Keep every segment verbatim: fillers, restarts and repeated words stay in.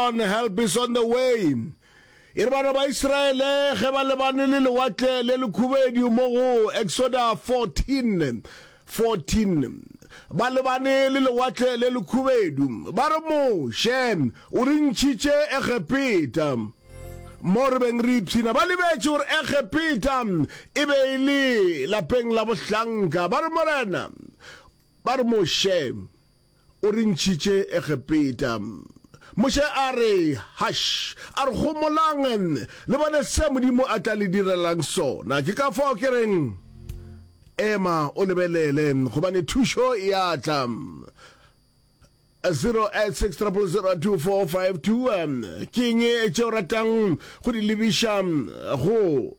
on, help is on the way. E re bana ba Israele ge ba lebane le lewatle le lekhubedu mo go Exoda fourteen, fourteen, ba lebane le lewatle le lekhubedu, ba re, Moshe, o re ntšhitše Egepeta, mo re beng re ipshina. Ba lebetše gore Egepeta e be e le lapeng la bohlanka. Ba re, Morena, ba re, Moshe, o re ntšhitše Egepeta. Moshe a re, Hush! A re, Homolang, le bone se Modimo a tla le direlang sona. Ke ka fao ke reng, Ema o lebelele, gobane thušo e a tla. zero eight six triple zero two four five two. Ke eng tše o ratang go di lebiša go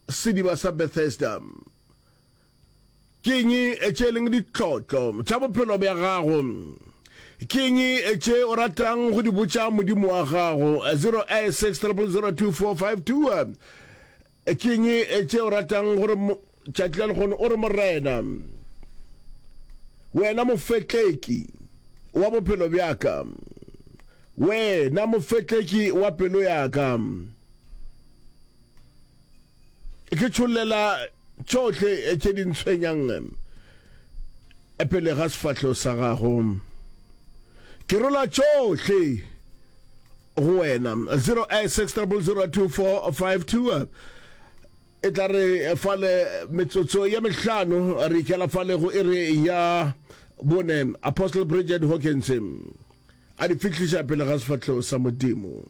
sediba sa Bethesda? Ke eng tše e leng ditlotlo tša bophelo bja gago? Ke eng tše o ratang go di botša Modimo wa gago? zero eight six triple zero two four five two. Ke eng tše o ratang gore tšatši la lehono o re, Morena, wena mofetleki wa bophelo bja ka, wena mofetleki wa pelo ya ka, ke tšhollela tšohle tše di ntshwenyang pele ga sefahlego sa gago. Ke rola tšohle go wena. Zero eight six triple zero two four five two. E tla re fale metsotso ya mehlano re ikela fale go iri ya bone. Apostle Bridget Hawkins a di fihliša pele ga sefahlego sa Modimo.